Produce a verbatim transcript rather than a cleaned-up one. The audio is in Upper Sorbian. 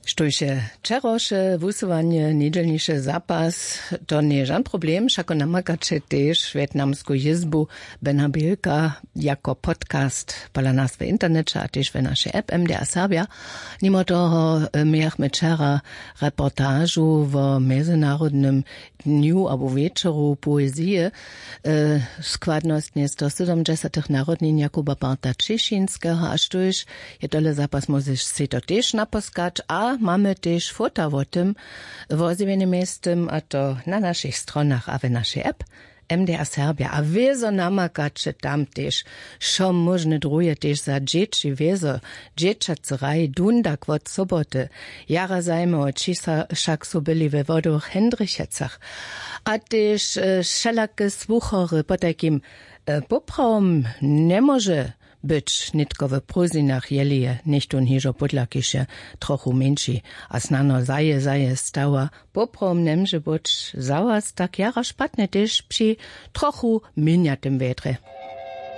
Štóž je wčerawše wusyłanje njedźelniše zapas, to njeje žan problem. Wšako namakaće tež wjetnamsku jězbu Bena Bilka jako podcast pola nas w interneće a tež we našej app MDA Serbja. Nimo toho mějachmy wčera reportažu wo mjezynarodnym dnju abo wječoru poezije, składnostnje stosydomdźesatych narodnin Jakuba Barta Ćěšińskeho. A štóž je tole zapas, móžeš sej to tež naposkać a mamy tež fota wo tym wozjewjenym mjeztym, a to na našich stronach a we našej app MDA Serbja. A wězo namakaće tam tež wšo móžne druhe tež za dźěći, wězo dźěćacy raj dundak wot soboty, jara zajimało, ći sa wšak su byli we wodowych Hendrichecach a tež wšelake słuchory. Potajkim poprawom njemóže być nětko w prózdninach, jeli je něchtón hižo pódla kiše trochu mjeńši a snano zaje zaje stała. Poprawom njemóže być za was tak jara špatne tež při trochu měnjatym wjedrje.